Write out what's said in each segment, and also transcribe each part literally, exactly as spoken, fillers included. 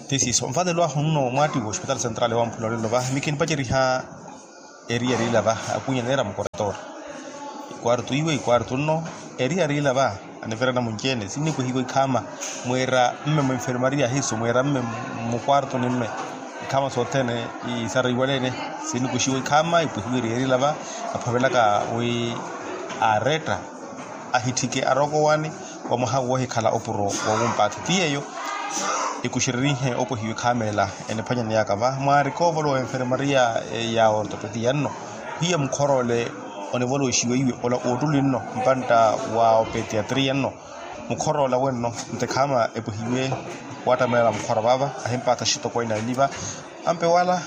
Tisiiso nvatelo ahu nno mwaattiwa ospitaali sentrali wamphula olelo va mikinipaceriha. Eri eri ila va akunya neera mukoretora. Ikwartu iwe ikwartu nno. Eri eri ila va anivera namunci-ene sinnikwehiwa ikhaama. Mwiira mme mwenfermaria hiiso mwiira mme mukwartu ni mme ikhaama sothene. Isara iwaleene sinnikwehiwa ikhaama ipwehiwa eri eri ila va. Aphavelaka wi aaretta ahitthike arooko owaani wa mwaha woohikhala opuro. Wowumpaatha ti yeeyo ikuxererihe opwehiwa ekhaama ela. Eniphwanyaneyaka va mwaari koovolowa enfermaria ya ortopetiya nno hiya mukhoroole onivoloxiwa iwe ola oottuli nno mpantta wa opetiatria nno. Mukhoroola wenno nte khaama epwehiwe wattamelela mukhora vaava ahimpaatha axitokweene ali va. Ampe wala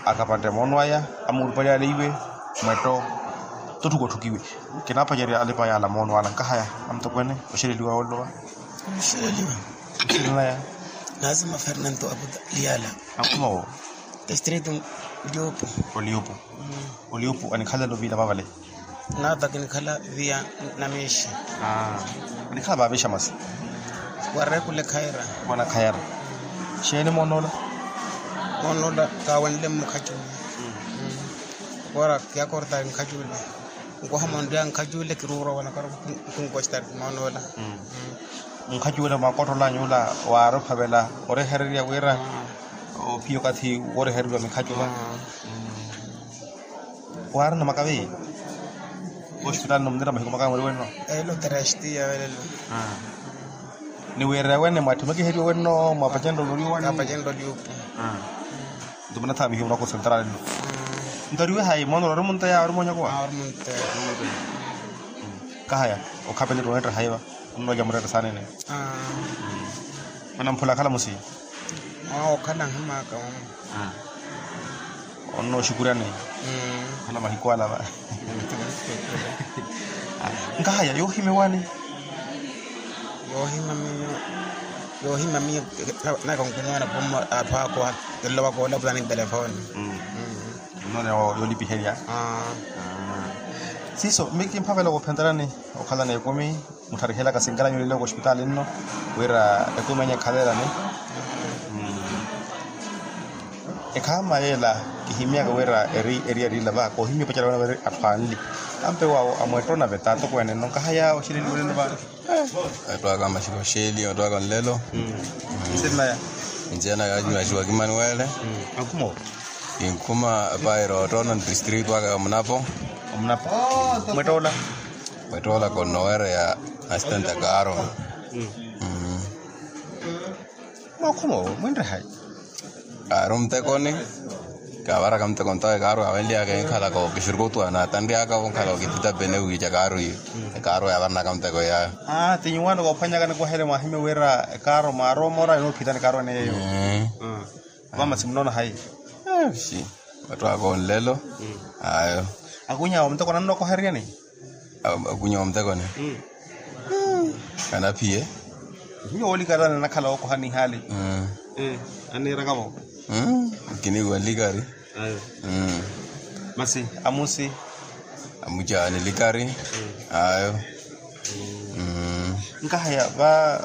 akapantte moono aya amuurupali ale iwe mwetto. Totthuka otthukiwe kinaapacerya alipa yaala moono ala nkahaya. Amutokweene oxeleliwa ollowa. Oxeleliwa. Oxelenaya. Naasima fernanto aputa liyala. Akhumawo. Distrito. Liopo. Oliopo. Oliopo anikhalelo viila vavale. Naata kinikhala viya. Namiixi. Anikhala vaavixa masi. Wareekule khayira. Wana khayira. Xeeni moonoola. Moonoola kaawenle mmukhacuule. Wara kiyakortari nkhacuule. Nkoha monriya nkhacuule kiruurwa wana karo. Nkunkostari moonoola. Nkhacuule mwakottholanyu ula waari ophavela orehererya wira ophiya okathi worehereriwa mikhacuva. Waarina makavi. Ospitaali no munira mahiku makavi mweri wenno. Elo terestiya velelo. Ni wira wene mwatthimekiheriwe wenno mwapacenrya oloriwa wani. Kapacenrya oliupu. Nto munathaamihiwe munako sentrali nno. Nto oriwe hayi mono ori munteya ori monyakuwa. Ori munteya. Kahaya okhapeleriwa onetta hayiva. Onnoja muretta saanene. Onamphula akhala musi. Okhala nhimaka. Onnooxukuryani. Okhala mahiku alava. Nkahaya yoohimya owani. Yoohimya miyo. Yoohimya miyo. Naka onkumoona kummo atthu akoha. Killowa koolapulani ntelefoni. Nnoona yoolipiherya. Siiso miki mphavela woophentelani. Okhalana ekumi muttharihelaka sinkalanyu lelo kospitaali nno. Wira ekumi enya ekhalelani. Ekhaama yeela kihimyaka wira eri eriyari ila va koohimya opacerya wena weri atthu anli. Ampe waawo amwetta onaveta atokweene nno nkahaya oxeleliwa olelo va. Etthu aka maxiko xeeli etthu aka nlelo. Nsirinaya. Nsirinaya maxiwa kimanuwele. Akhuma. Kinkhuma pairo ottona ntistritu aka ya munapo. Omunapo. Mwetta ola. Mwetta ola konnowereya asitenta kaaro. Mwakhuma owo mwinre hayi? Kaari omuttekoni. Kaavaraka muteko ntawe kaaru awenlyaka enkhalaka okixurukutuwa natanryaka onkhala okitita pene wiica kaaru iyo. Ekaaru yaavarnaka muteko yaayo. Aa ti nyuwaano koophwanyaka nikuhele mwahimye wira ekaaru mwaaromora enoophitani kaaru ene yeeyo. Vamasi munoona hayi? Xi. Vatthu aka onlelo. Ayo. Akuny'awe muteko nannokoheryani. Akunyowa omutekoni. Anaphiye. Nyo wolikatana nakhala wokoha nihaali. Anirakavo. Kiniwa likari. Masi amusi. Amucaani likari. Ayo. Nkahaya va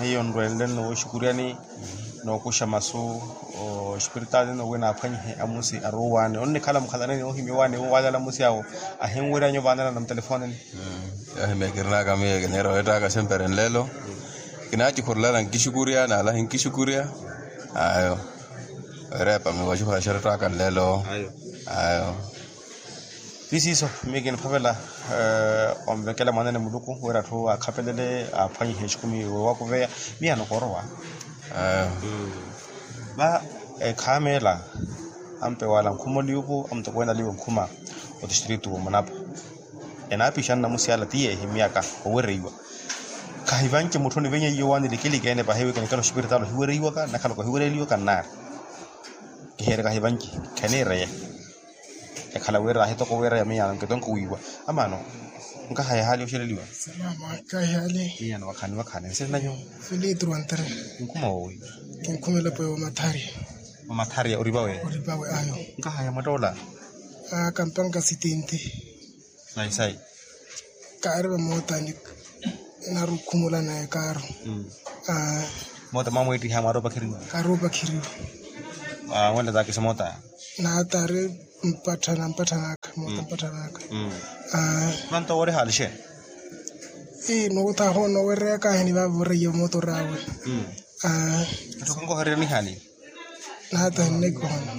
hiyo nrwenle nno woxukuryani. Nookuxa masu ospiritaali nno wi naaphwanyihe amusi aruuwaani onnikhala mukhalaneni oohimya owaani wo waalala amusi awo. Ahinweryanyu vaanela na mutelefonini. Yoohimya kirinaka miyo kiniira weettaka sempre nlelo. Kinaacikhurulana nkixukurya naalahi nkixukurya. Ayo. Weerepa miyo wacikhura xerettaka nlelo. Ayo. Ti siiso miyo kiniphavela onvekela mwaanene muluku wira atthu akhapelele aaphwanyihe exikumi wewakuveya. Miyo anokoorowa. Va ekhaama ela ampe wala nkhuma oliupu amutokweene aliwe nkhuma. Otistritu womunapo enaapixana namusi ala ti yeehimyaka owereiwa. Khahivanci mutthu onivenyeiye owaani likiliki ene pahi wi kinikhala ospiritaali ohiwereiwaka nakhala kohiwereeliwaka nnaari. Kiheerya kahivanci kheniireye. Ekhala wira ahitoko wira ya miyaano nkitonko wiiwa. Amaano nkahaya ehaali oxeleliwa. Miyaano wakhani wakhani nsiri nanyu. Nkhuma wowi? Kinkhumela pwe wamathari. Wamathari oripawe? Oripawe ayo. Nkahaya mwattoola? Kampanka sitinte. Sayi sayi. Kaari vamootani. Narukhumula naye kaaru. Moota mwaamwiittiha mwaari opakheriwa. Aari opakheriwa. Mwenle taakisa moota. Naata ari mpatthana mpatthana aka moota mpatthana aka. Vanto wooreha alixeeni. Ii noota ahoona owereya kaahini vaavo oreiya moota oraawe. Atthu khankohererya nihaani. Naata hinnekohona.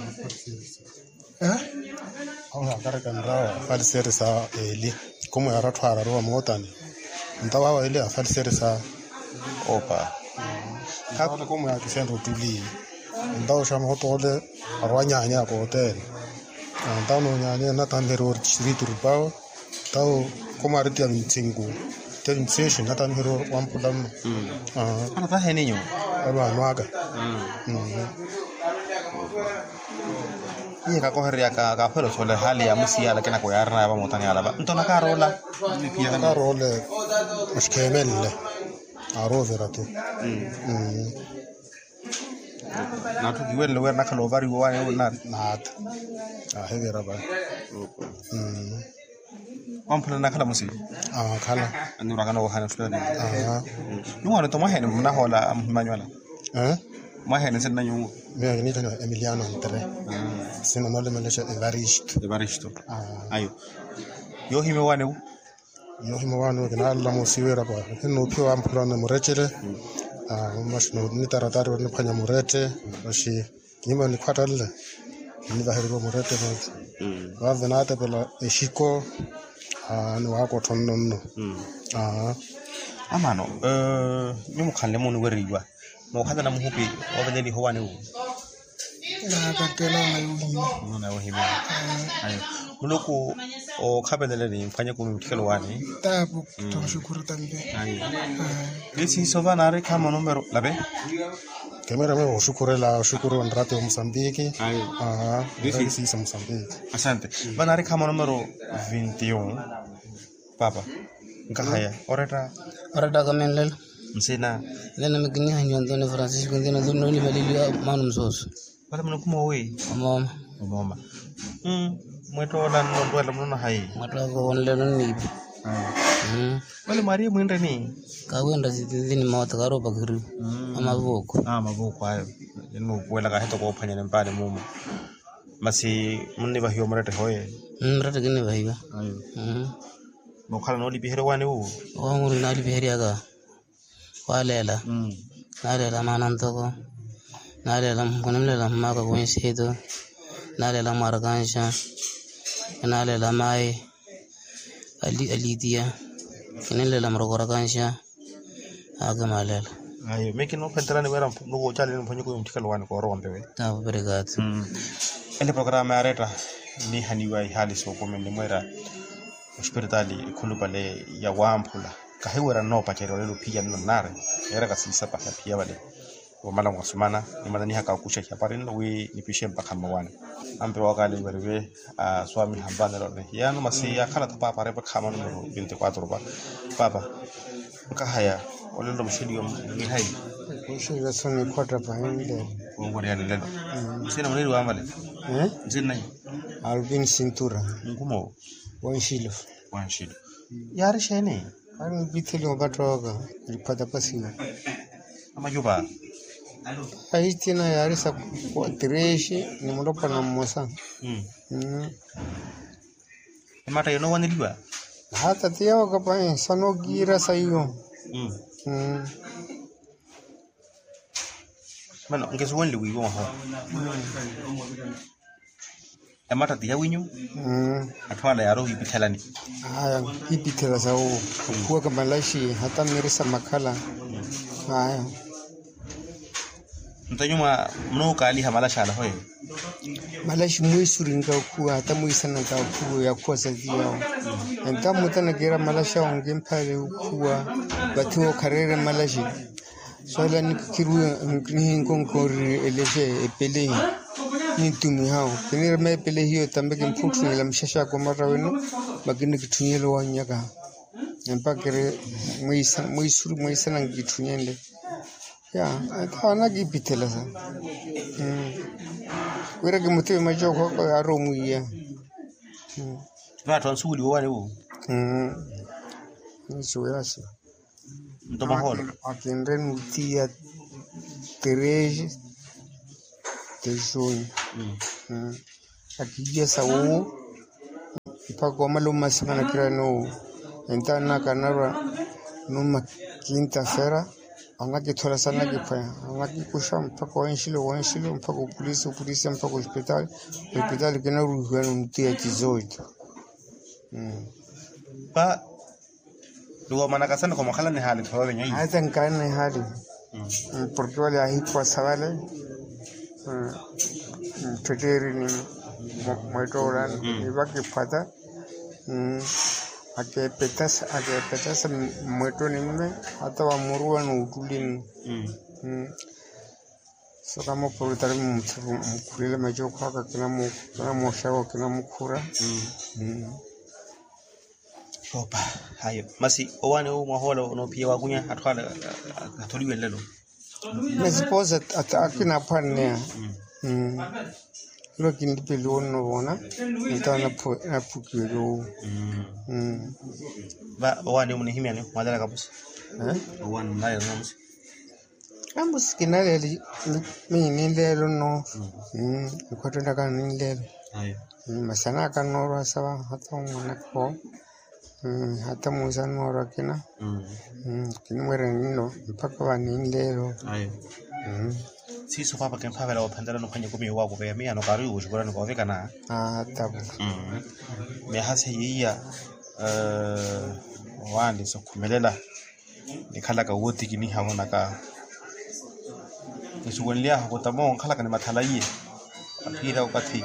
Awe akareka nrawa afaliseeri sa eli. Kumweera atthu aararu vamootani. Ntawa awe eli afaliseeri sa opa. Kumweera kisentta ottuli. Ntawa oxa muhotoole arwa nyaanya ya kootele. Ntawa noonyaanya nataniheriwa ori tixiritu rupawo. Tawo kumwaari tiya vintsinku tiya vintsixi nataniheriwa wamphula mma. Ano taheninyu. Evaano aka. Iye kakohererya kakhwela osola ehali ya musiya alakina ko yaarina yava mootani yalava nto nakaaroola. Nakaaroola oxikheemenle. Aaroovira tu. N'atthu kiwenle wira nakhala ovariwa owaani naata. Aahivira vale. Wamphula nakhala musivi. Aakhala. Anurwakana wohana fulani. Nyuwo anoto mwaheeni munahoola amuhimanyu ala? Mwaheeni nsinna nyuwo? Miyo kiniithaniwa emiliano antre. Sina noolemelexa evaristo. Evaristo. Ayo. Yoohimya owaani wu. Yoohimya owaani wu kinaalola musiwira pa hinuuphiwa amphulano murecele. Maxi nitaratari oniphwanya murette. Maxi kinyuma nikhwattanle. Nnivahereriwa murette. Vaavo naatepela exiko. Niwaakottho nno nno. Amaano nyuwo mukhanle muniwereiwa. Mookhalana muhupi. Oveleliha owaani wu. Naakatela ona yoohimya. Ona yoohimya. Ayo. Muluku ookhapelela ni mphwanye kumi mutthikelo waani. Taapu. Tooxukuru tampe. Ayo. Esi sova naari khaama numero lape. Kemera mwe oxukurela oxukuru onrati wa musambiki. Ayo. Esi sa musambiki. Asante. Va naari khaama numero vinti un. Paapa. Nkahaya oretta. Oretta kamenlela. Nsina. Nena mikinihanyiwa ntoni francisco nthina ntoni noni valeliwa. Maano musooso. Vale munukhuma owi. Omooma. Omooma. Mwettoola nnontwela munono hayi. Mwettoola koonlelo nniipi. Vale mwaariye mwinreni. Kaawinra sithinthini moota kaari opakheriwa. Amavuuku. Amavuuku ayo. Ennuupuwela kaahita koophwanyani mpaani muumo. Masi munnivahiwa muretteho ye. Murette kinnivahiwa. Nookhala noolipiherya owaani wu. Owaani wu naalipiheryaka. Waaleela. Naaleela maana ntoko. Naaleela kunimuleela mmaaka kuwensiito. Naaleela mwaarakanxa. Naaleela maayi. Aliitiya. Kininleela murokorakanxa. Aakimaleela. Ayo mekinoophentela niweera nukuucalini mphonyoko yomutthikelo waani koorowa mpewe. Taavo perekaatu. Ele programa yaaretta. Nihaniwa ihaali sookumi nimweera. Ospiritaali ekhulupale ya wamphula. Kahiweera nnoopacerya olelo phiya nno nnaari. Yeeraka siisapaha phiya vale. Wamala mwasumana. Nimatanihaka okuxa ihapari nno wi nipixe mpakha mmawaani. Ampe wakaali weriwe. Swami hampanelo nihiyaano masi yaakhala tho paapa arepa khaama numero vinti quatro pa. Paapa. Nkahaya. Olelo muxeliwa mwihayi. Muxeliwa soni khwatta pahinle. Wonkoriyani lelo. Nsina muneriwa vale. Nsina nai. Alvin sintura. Nkumo. Wanxilo. Wanxilo. Yaari xeeni? Ari nipitheli opattooka. Nipatapasiwa. Amacupa. Ahitina yaari sa. Tireexi ni mulopwana mmosa. Ematta yoonowaneliwa. Hata tiyawo kapahi sanookiira saiwo. Mano nkesuwenle wiiwa mwaha. Ematta tiyawinyu. Atthu ala yaari ohipithelani. Aya kipithela sawo. Okhuwaka malaxi hata miri sa makhala. Aya. Nto nyuma munookaaliha malaxi ala hoye. Malaxi mwiisuri nkakhuwa hata mwiisana nkakhuwa yakhuwa saviyawo. Entamuta nakiira malaxi awo nkimphaale okhuwa. Vathi wookhareere malaxi. Swala nikiruwe. Nihinkonkorerye elexe epelehi. Nintumihawo kinirima epelehi yotambe kimphutthunyela muxaxaka omarra wino. Makinikitthunyela owanyaka. Empakere mwiisana mwiisana nkitthunyele. Ya. Entawo anakipithelasa. Wira kimutiwe macookho ako yaari omwiiya. Vaatho ansuweliwa owaani wu. Nsuwelasi. Nto mahoolo. Akinre nutiya. Treze de junho. Akiiya sa wuwo mpakha omala omasimana kirani owo. Entaani aka anarwa numa kinta fera, anakithola sa anakiphwanya, anakikuxa mpakha wenxilo wenxilo mpakha opulisi opulisi mpakha ospitali. Ospitali kinaruhiwani ontiya tizoito. Mmm. Paa. Luwo manakasani khomwakhala nihaali thoovenya. Ayi tankaani nihaali. Porke wale ahiphwasa wale. Mttetteerini mwettoolani nivakiphwata. Akeepetasa akeepetasa. Mwettooni mme hata wamuruwa n'uttulini. So kama opurutari mukhulela macookho aka kinamuxawa kinamukhura. Opa. Ayo masi owaani owo mwahoola onoopiya waakunya atthu ale. Atholiwe nlelo. Masi poosa akina aphwanneya. Nlo kinlipeliwa onnovoona. Ntawo naphukiweliwa owo. Owaani owo munihimyani mwalelaka masi? Owaani munalelaka masi? Ambo sikinaleeli. Miyo ninleelo nno. Nikhwattenaka ninleelo. Masi anaaka nnoorwa sawa hata omwanaka owo. Hata musa nnoorwa kina. Kinimweerya ninno mpakha va ninleelo. Siiso paapa kimphavela woophenderya nikhwanya ekumi yowaakupeya miyaano kaari wuuxukurani koovikana. Tapu. Miyaha seiya. Owaani sokhumelela. Nikhalaka wootikiniha vonaka nisuwenly'ahu kutamo nkhalaka ni mathala iye. Aphiyerya okathi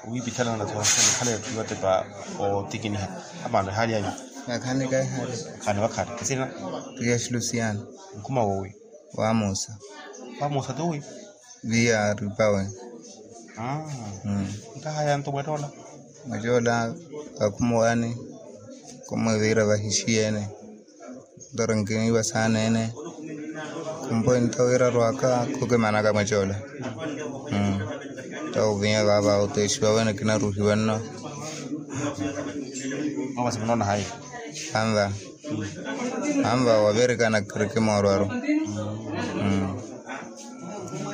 owiipithalana natho nikhala etthu yootepa. Ootikiniha amaano ehaali anyu. Vakhaani kahihaali. Vakhaani vakhaani nsina? Prias luciano. Nkhuma woowi? Wamusa. Wamusa tuwi? Viya aripawe. Nkahaya nto mwettoola? Mwettoola vakhumuwaani khumwiviira vahixiyeene. Nto rinkiiva saaneene. Khumpo entawiira rwaka khukimanaka mwettoola. Nto ovinya vaava oteexiwa wene kinaruhiwa nno. Anva. Anva wavirikana kiriki moorwaru.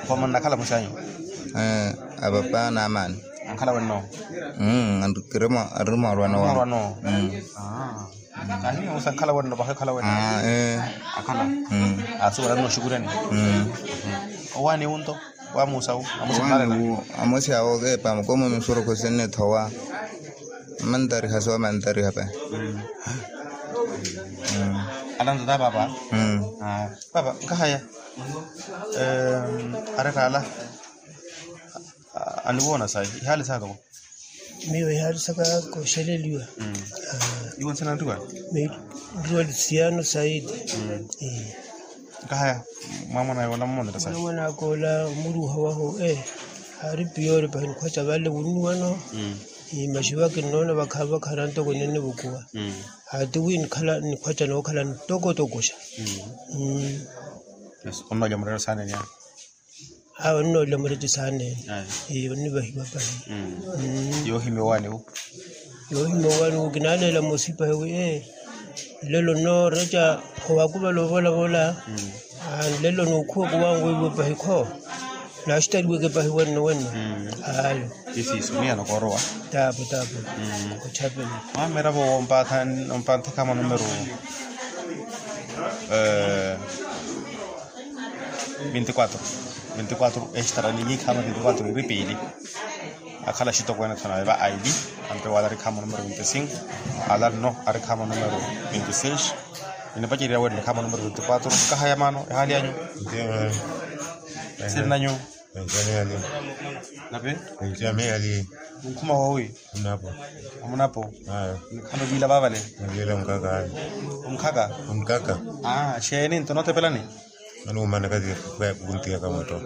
Khomonnakhala muxanyu? Apapa n'amaani. Ankhala wenno? Ari moorwano. Ahi osa ankhala wenno pahi okhala wenno? Akhala. Asuwela nno oxukurani. Owaani wu nto? Wamusa wu? Amosi awo keepa mukomo misurukhu sinnithowa. Mantariha soowa mantariha pahi. Alantata paapa. Paapa nkahaya. Aretaala. Aniwoona sayi ihaali saka? Miyo ihaali saka kooxeleliwa. Iwo nsina nriwa? Nriwa luciano saidi. Nkahaya. Mwamwana yola mmonera sayi? Mwamwana akoola omuruuha wahu. Aari piyoori pahi nikhwaca vale wunnuwano. Maxuva kinnoona vakhaani vakhaani antoko ninnivukuwa. Hati wi nikhala nikhwaca nookhala ntokotoko xa. Onnoolya murero saaneni awo? Awo nnoolela mureti saaneene. Onnivahiwa pahi. Yoohimya owaani wu? Yoohimya owaani wu kinaaleela moosi pahi wi ee nlelo nnooreca. Owakuvala ovolavola. Nlelo nookhuwa kuwangu iwe pahi kho. Naaxitaliweke pahi wenno wenno. Ayo. Isiiso miyano koorowa. Taapo taapo. Ochapela. Mwamiravo wompanthe khaama numero. Vinti quatro. Vinti quatro extra ni yiikhaama vinti quatro iri piili. Akhala axitokweene thanu ave va aili. Ampe wala ari khaama numero vinti cinco. Ala nno ari khaama numero vinti seis. Ninipacerya wene khaama numero vinti quatro nkahaya maano ehaali anyu? Siri nanyu? Napi? Nkhuma woowi? Omunapo. Nikhana oviila vaavale? Omukhaka. Omukhaka. Xeeni nto nootepelani? Mani wumanaka kuntiyaka mwetto.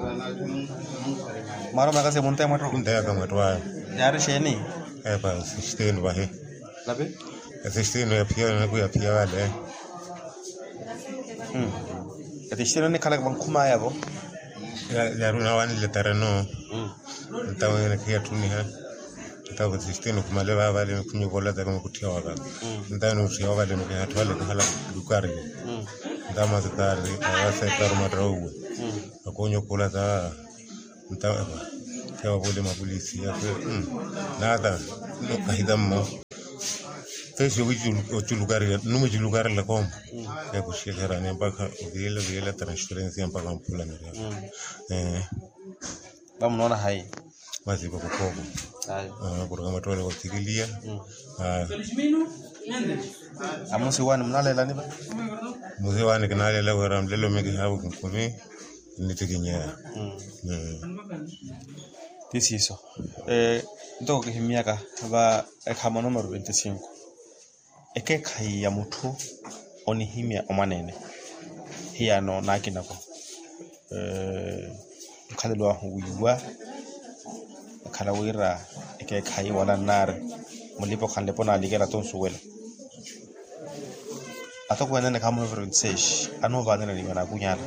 Mwaari omanaka se muntaya mwetto? Kuntiyaka mwetto ayo. Yaari xeeni? Epa esistinu vahi. Napi? Esistinu yaphiya naku yaphiya vale. Esistinu nikhalaka vankhumaya vo. Yaari onawanile tareno. Ntawe nakhiyattuniha. Ntawe esistinu khumale vavale khunyu volataka mukutthiya wavale. Ntawe nutthiya wavale mukihatthu vale kahala lukari. Tama sitari awasettari matawuwe. Akonya okhula sa ntava. Tewavole mapulisi yakwe. Nata nokahitamo. Pesi owichulukarela numichulukarela kombo. Yakuxekerani mpakha ovilela ovilela transferencia mpakha mpula miriaka. Vamunoona hayi? Masi vakukhoko. Kuraka mattoole wathikiliya. Amusi wani munaleelani va? Musi wani kinaleela wira nlelo miki havu kinkumi. Nnittikinyeya. Ti siiso. Ntoko kihimyaka va ekhama numero veinticinco. Ekeekhayi ya mutthu onihimya omwaneene. Hiyano naakinako nkhalelo ahu wiiwa. Akhala wira ekeekhayi wala nnaari mulipa okhanlepa onaalikela tonsuwela. Atokweene ene khamuno verinseshi anuuvaanela niiwe naakunyala.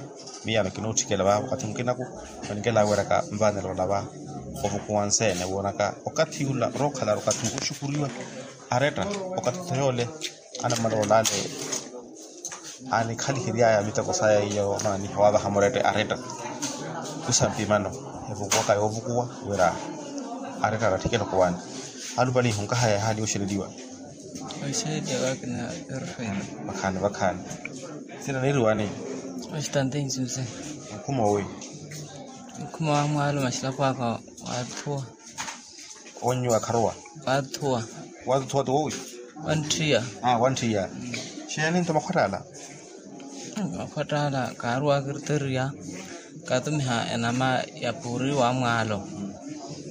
Miyano kinootthikela va wakathi mukinaku. Onikela wiraka nvaanela olava ovukuwa nseene woonaka okathi ula orookhalari okathi oxukuriwa. Aretta okathi tho yoole anamala olale. Anikhaliheryaya miteko saya iyo maaniha wavaha murette aretta. Kusa mpimano evukuwaka yoovukuwa wira aretta aratthikela okhuwani. Alupalihu nkahaya ehaali yooxeleliwa. Oxeleliwa vakina. Perfect. Vakhaani vakhaani. Sina niiriwani? Oxitantensi mse. Nkhuma owi? Nkhuma wa mwaalo maxilapwaaka. Waathuwa. Onnyu akharuwa? Waathuwa. Waathuwa ti wowi? Wantthiya. Wantthiya. Xeeni nto makhwattaala? Makhwattaala kaaruwa akirteriya. Kaatumiha enama ya puuri wa mwaalo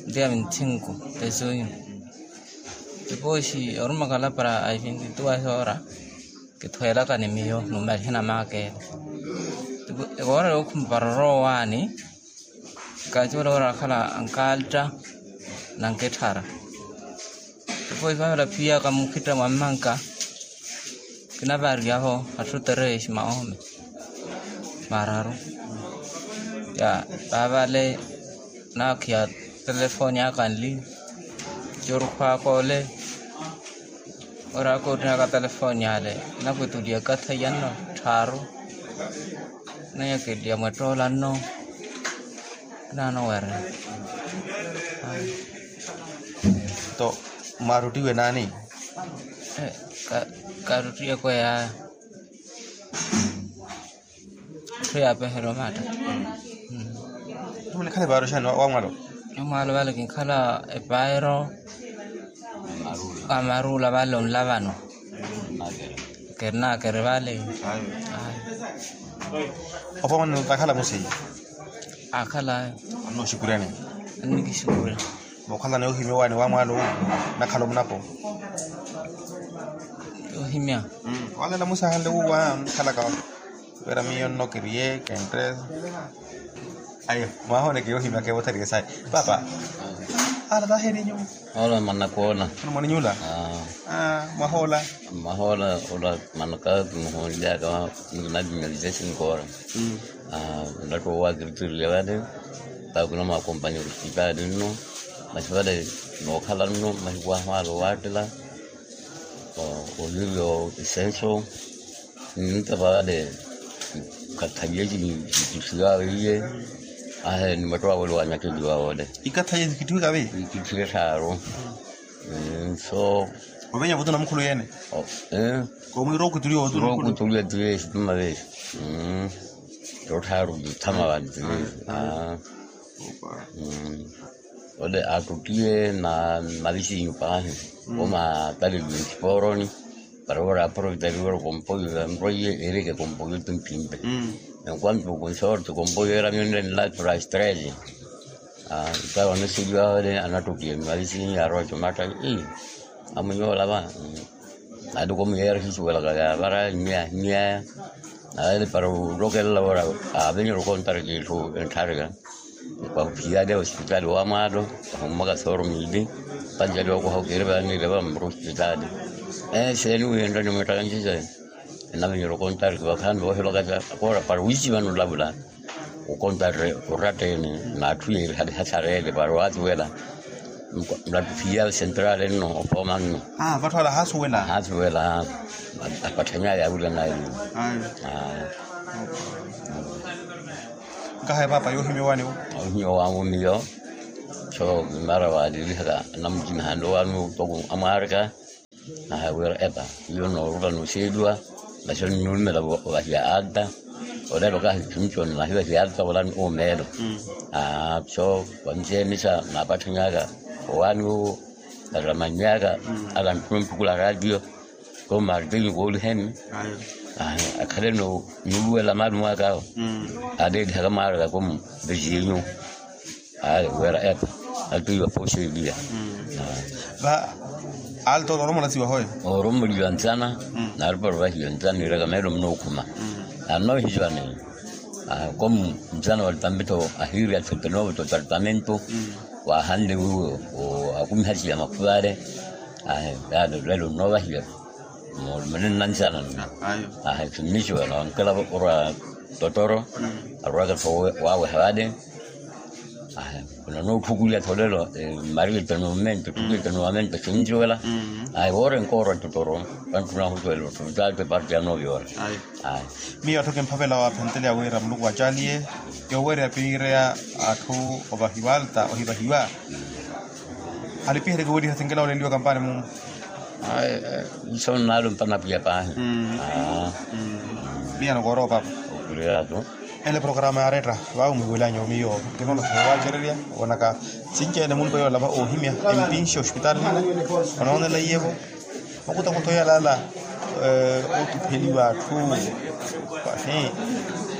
nti ya vinthinku. Tesunyu. Tipooxi oruma kalapara a vintituwa soora. Kithweelaka ni miyo numalihe namaakeela. Ewoora yookhumpa rorowaani. Kacuula wira akhala ankaaltta na nketthara. Tipooxi vavela phiyaka mukhitta mwa mmanka. Kinavariyaho atthu tereexi maome mararu. Ya vavale naakhiya telefooni aka nli. Corukhwaka ole. Oraaka otthunaka telefooni ale. Nakwituliya ekathaiya nno tthaaru. Nanyakeliya mwettoola nno. Kinaano were. Nto mwaaruttiwe naani? Kaaruttiwe kweya. Etthu yaapeherya omaatta. Munikhala epaayiro xani wa mwaalo? Wa mwaalo vale kinkhala epaayiro. Wa maruula vale onlavano. Kerinakeri vale. Opo mwane takhala musi? Akhala. Anooxukuryani? Annikixukurya. Mookhalana yoohimya owaani wa mwaalo owu? Nakhala omunapo. Yoohimya. Wala namusahanle wuwa mukhalaka. Wira miyo nno kiriye kentte. Ayo mwahooneke yoohimyaka ewothariye sayi. Paapa. Ala taaheriye nyuwo. Ola manakoona. Mwana mwaninyu ola? Mwahoola? Mwahoola ola manaka kimuhoonlyaka. Nkinavimya visesi nkoora. Nlattuwa owaakirutiriya vale. Paakuna mwakompanya olosipitaali nno. Masi vale nookhala nno mahiku ahu ale owaattela. Olivio isenso. Nintapa vale. Kakhaliye cini? Ikithiwa weiye. Ahe ni matto awele wanyakeliwa wole. Ikathaye ikithiwe kavi? Ikithiwe tthaaru. Nso. Ovenya vutu na mukhulu yene. Komwira okuthuliwa vutu na mukhulu. Okuthuliwa tuvesi tuma vesi. Totthaaru tuthama vale tuvesi. Ole atuttiye na mavisinyu paahi. Omataleliwe nsiporoni. Para ora aproveitariwera kompoyo ya nroiye ereke kompoyo ti mpimpe. Enquanto konsorte kompoyo era mionre nla price treze. Ntara oneseliwa ole anattokiye mavisinya arowa comatta. Amunyola va. Ati komuyera hisuwelaka ya vara nyaya nyaya. Aele para ulokelela ora avenyere okontara kitthu entharika. Kwahuphiyale osipitaali wa mwaalo. Ahummaka sooro miili. Panjali okwaha okirivaniire vammuru osipitaali. Eseeni wiinrani mwittaka ncise. Enamenyerya okontari vakhaani voohela okathi akoora para wiisi vano olavula. Okontari oratta ene. N'atthu yeeri hali hasareele para waathi wela. Mulattuphiya sentrale nno ofooma nno. Vatthu ala haasuwela haasuwela. Apatthanyaye awila naye. Nkahaye paapa yoohimya owaani wo. Ohimya owaani wo miyo. So mara waalilihaka anamujimihani owaani wo toko amwaarika. Ahayi wira epa, iyo noorupa nooxeeliwa. Masi onnuumela ovahiya alta. Olelo kahi khimutoni nahivahiya alta olani omeelo. Aa so wanceemisa naapatthanyaka owaani wowo. Naramannyaka. Alanttuna onthukula raatiyo. Ko martini kooliheni. Akhaleno nuuwela maali mwaaka awo. Aleelihaka mwaaraka ko mvizinyu. Ayi wira epa. Atiiwa pooxeeliya. Va alta oromola siwa hoyo. Oromola iwa ntsana. Naarupara ovahiya ntsana niiraka meelo munookhuma. Anoohiciwani. Komu ntsana wa litampitho ahiiri athupe noovo totartamento. Waahanle wiiwo akumihaciya makhuvale. Ahi yaani lelo nnoovahiya. Muli muli nnantsana nno. Ahi khimmixiwa nankela orwa totoro. Arwaka tho waaweha vale. Ahi khuna nootthukuliya tho lelo. Mmariyete noomento tthukuliyete noomento xinjuwela. Ahi woore nkoorwa totoro. Vantthuna ahusuwela otto vitaate parte ya noovyoora. Miyo atthu kimphavela waaphenteleya wira muluku acaaliye yoowereya piireya atthu ovahiwa alta ohivahiwa. Alipihereke wiiriha sinkina oleliwa kampani mumu. Nso nnaalo mpana pwiya paahi. Miyano kooroopa. Ele programa yaaretta vaawo mwiiwelanya omiyo. Kinoona soowacererya wonaka sinci ene munpa yoola va oohimya empinxi ospitaali nno. Onoonela iyevo. Makutakutho yalaala. Ootupheliwa atthu.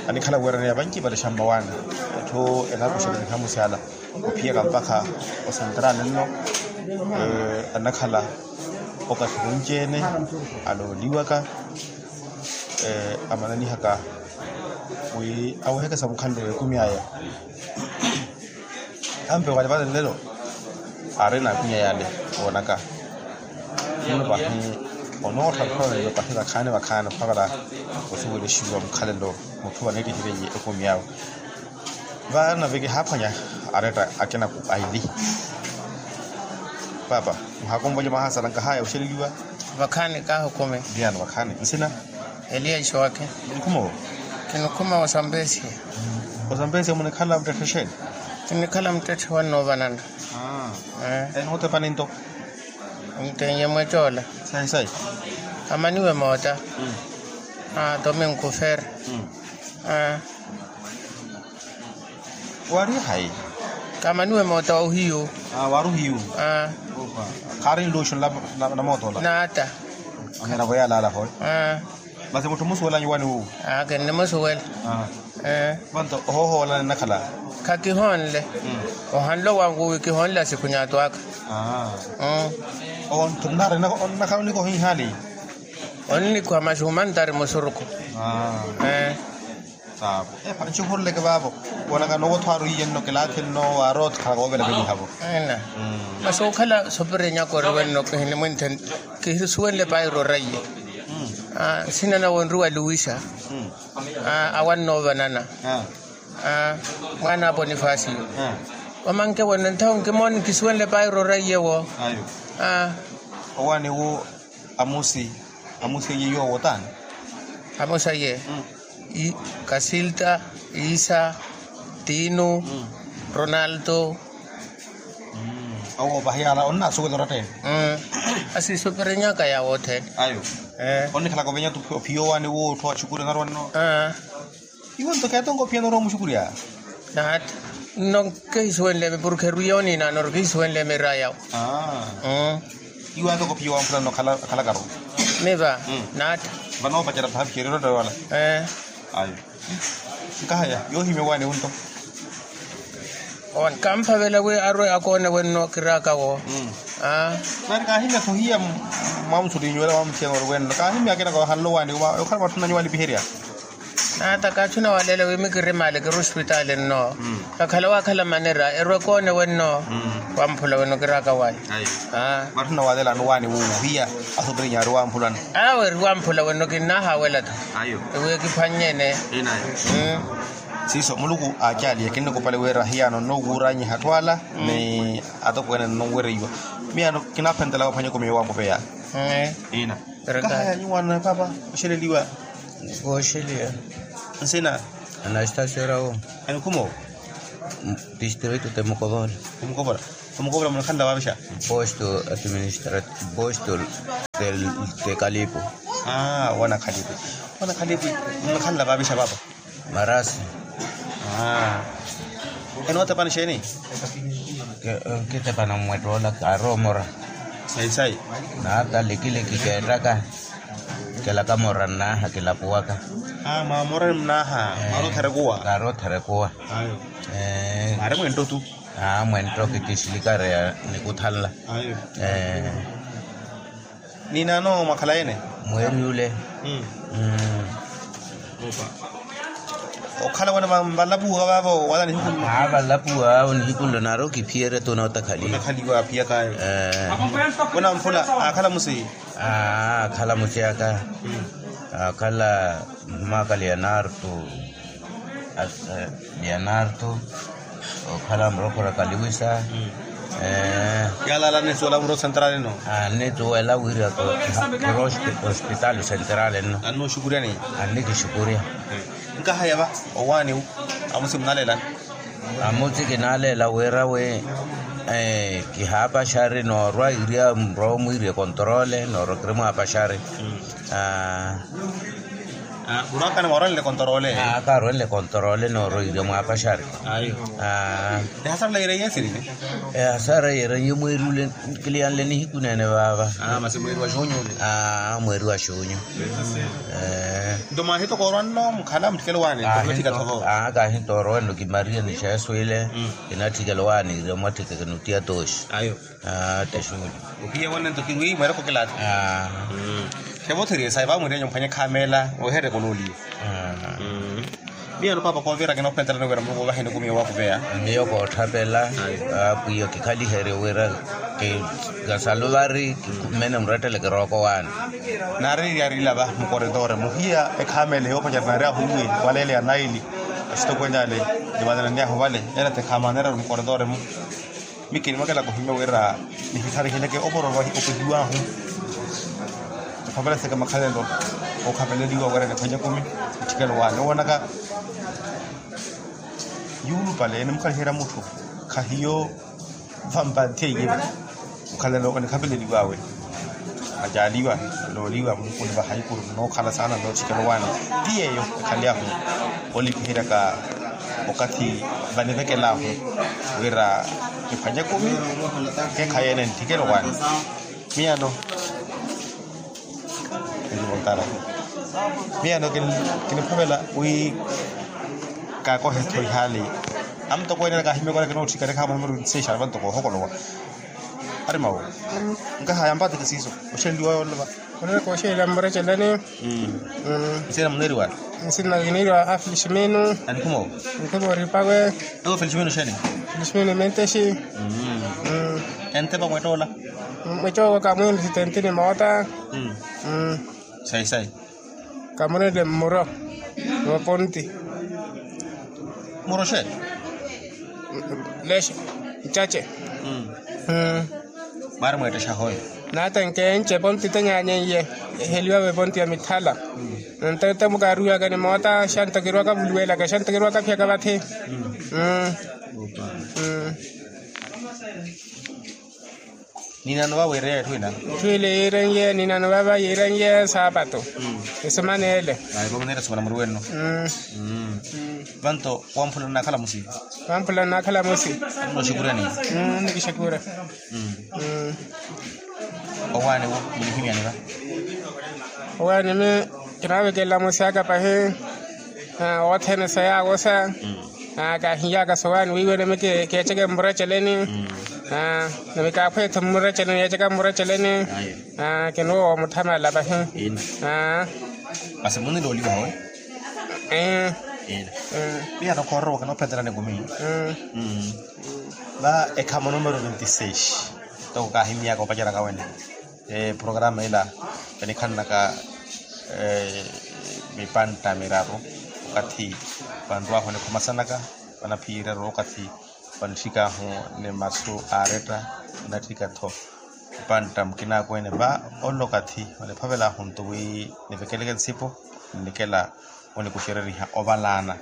Anikhala weeraneya vanci valexa mmawaani. Atthu enakuxela nihamusi ala ophiyaka mpakha osentrali nno. Anakhala okathi wunci-ene alooliwaka. Amananihaka wi aweheke sa mukhanle w'ekumi aya. Ampe wali vale nlelo aari n'akwinya yale woonaka. Muno pahi onoottha nthowa eyo pahi vakhaani vakhaani ophavela osuwelexiwa mukhalelo mutthu vaneettihireiye ekumi awe. Vano vekihaaphwanya aretta akina ku aili. Paapa muhaakonvolye mwahaasala nkahaya oxeleliwa. Vakhaani kaahukumi. Viyano vakhaani nsina. Eliya ixowakhe. Munikhumo. Kinikhuma osampesia. Osampesia munikhala muttetthe xeeni? Kinikhala muttetthe wannoovanana. Enootepani nto. Nteiye mwecoola. Sayi sayi. Amaniwe moota. Domingo fer. Wari hayi? Kamaniwe moota wa ohiyu. Wari ohiyu. Khaari nluxu na moota ola. Naata. Aneera voyalaala hoyo. Masi mutthu omusuwelanya owaani wuwo? Kinnimusuwela. Vanto ohoohoola ninnakhala? Khakihonle. Ohanle owangu wi kihonle asikhunyatu aka. Owo nto nnaari onnakhala onikoha ihaali. Onnikoha masi humantari musurukhu. Saavo. Epa nxukhuruleke vaavo. Woonaka nowo otho aari ohiye nno kilaakhe nno waari otho khalaka woovela velihavo. Masi okhala sopirinyaka oriwe nno kihinimwinthe. Kihisuwenle pairo raiye. Nsina nawe onriwa luwisa. Awannoovanana. Mwaana a ponifasiyo. Omanke wene nthawo nkimooni kisuwenle pairo raiye wo. Owaani wo. Amusi amusi eye yoowo taani? Amusi eye kasilta, isa, tinu, ronaldo. Owo pahi yaala onnaasuwela oratta ene. Asisupirinyaka yaawo othene. Ayo. Onnikhalaka ovenyatu ophiya owaani wo otthu axukuri onarwa nno. Iwo nto keetonka ophiya norwa omuxukurya. Naata nno kehisuwenle emi porke erwiya oniina nori kehisuwenle emi eraya yawo. Iwo atoka ophiya owamphula nno akhalakaru. Miva naata. Vanoopacela paha phiherero ttawala. Ayo. Nkahaya yoohimya owaani wo nto. Owaani kamphavela wi arwe akoone wenno kiraaka wo. Nari kaahimya sohiya mwamusulinyu wala mwamusiya nori wenno kaahimya akina kawahanle owaani wo okhala matthunanyu walipiherya. Naata kaatthu nawaleela wi mikiri maali kiri ospitaali nno. Kakhala waakhala manera erwe koone wenno. Wamphula wenno kiraaka wayi. Matthuna waaleelani owaani wuuhiya asopirinya ari wamphulana. Awe eri wamphula wenno kinnahawela-tho. Ewi ekiphwannye ene. Siiso muluku aacaaliye kinnikupale wira hiyano nnowuuranyiha atthu ala ni atokweene nnonwereiwa. Miyano kinaaphentela waphwanya ekumi yowampupeya. Ina. Kahaya nyuwaano na paapa oxeleliwa. Wooxeliwa. Nsina? Anastasiyo rawo. Enkhumo? Distrito de mukovola. Omukovola? Omukovola munakhanla wavixa? Posto administrativo posto de kalipo. Aa wana khalipi. Wana khalipi. Munakhanla vavixa vavo? Marasi. Aa. Enootepani xeeni? Kitepana mmwettola kaari omora. Sayi sayi. Naata likiliki keettaka. Kelaka mora nnaaha kilapuwaka. Aa mwamora ni nnaaha. Maari otherekuwa. Kaari otherekuwa. Ayo. Maari mwentto tu. Aa mwentto kitixilikari ya nikuthanla. Ayo. Ni naano mwakhala ene? Mweeri ule. Okhala wene vanlapuwa vavo wala nihiku nlo? Aa vanlapuwa vavo nihiku nlo naari okiphiyerya tu nootakhaliwa. Otakhaliwa aphiyaka ayo. Wena mphula akhala musi? Aa akhala musi aka. Akhala mmaakali ya nartu. Leonardo. Okhala murokhora kaliwisa. Yalala nisuwela muro central ino. Nituwela wira kuro hospital central ino. Annuxukuryani? Annikixukurya. Nkahaya va owaani wu? Amusi munaleelani? Amusi kinaleela wira wi kihaapaxari noorwa iriya muro mwiiriye controle noorwa kiri mwaapaxari. Murwakana mwaronle kontorole? Aa kaarwenle kontorole nooroiirya mwaapaxari. Ehasara yeereiye esirine? Ehasara yeereiye mweeri ule. Kiliyanle nihiku neene vaava. Masi mweeri wa xuunyu ule? Aa mweeri wa xuunyu. Nto mwahitoka orwanno mukhala mutthikela owaani? Aa kaahitooroweno kimariya ni xeesu ile. Kinatthikela owaani iriya mwatthika kinutiya tooxi. Ayo. Aa tixuuli. Ohiye wonne nto kinwi mweereko kilaati. Aa. Xevotheriye sayi vaamwiiryanyu mphwanye khameela oheereka olooliwa. Miyano paapa kooviraka enoophentelani wira muluku ovaheni oku miyo waakuveya. Miyo kootthapela. Apwiya kikhaliherye wira kikasaluvari. Mmene murettele kirooko waani. Naari yaari ilava mukoritore muhiya ekhameela yoopacerya naari ahuuwi waleele ya naili. Asitokweny'ale nivanananyahu vale ela tekhamanera mukoritore-mu. Mikini mwakela kuhimya wira nihitharihileke oporo vahi opihiwahu. Khavaleseke makhalelo okhaveleliwa wira niphwanye kumi. Mutthikelo waani owonaka yuulupale enimukaliherya mutthu. Khahiyo vampanthi eiye. Mukhalelo onikhapeleliwawe acaaliwa olooliwa mukuni vahaikuru nookhala saana nootthikela owaani. Ti yeeyo ekhalyahu olipiheryaka okathi vanivekelahu wira kiphwanye kumi. Kekhayeene nthikela owaani. Miyano miyano kiniphavela wi kaakohe-tho ihaali. Amutokweene kaahimyaka ola kinootthikana ekhaamuna miruku nseexaari vantoko ohokolowa. Ari mawo nkahaya mpateke siiso oxenliwa yoolova. Onera kooxeela mmureceleni. Nsina muneeriwa? Nsina kiniiriwa a feliximino. Anikhumo? Anikhumo oripawe. Ewo feliximino xeeni? Feliximino mentexi. Entepa mwettola? Mwettooko kamwiini sitentini moota. Sayi sayi. Kamurenle mmuro wa ponti. Mmuro xeeni? Lexe ncace. Mwaari mweettexa hoyo? Naatenke enci eponti tenyaanyenye eheliwawe eponti ya mithala. Nto ete mukaariwaka ni moota xanto kirwaka vuluwelaka xanto kirwaka phiyaka vathi. Ninano vava yiirenye etthu ina? Etthu ile yiirenye ninano vava yiirenye saapatu. Esemana ele. Ayi vamuneera esemana muri wenno. Vanto wamphula nnaakhala musi? Wamphula nnaakhala musi. Nnoxukurya ni? Nikixakura. Owaani wo munihimyani va? Owaani mi kinaavekelela musi aka pahi. Othene sa yaawosa. Kaahiyaka sowaani wiiwene mi keeceke mmureceleni. Nami kaaphweya-tho mmureceleni yeeceka mmureceleni. Kinuwo woomutthamala pahi. Masi munnilooliwa howe? Miyano khoorowaka noophentelani ekumi. Va ekhamo numero veintiseis. Toko kaahimyaka opaceraka wene. Programa ila vanikhannaka mipantta miraru okathi vanrwaahu onikhomasanaka vanaphiyeryerya okathi vanitthikaahu ni masu aaretta. Vanatthika-tho mipantta mukinaakweene va ola okathi vaniphavelaahu nto wi nivekeleke nsipo nnikela onikuxereriha ovalaana.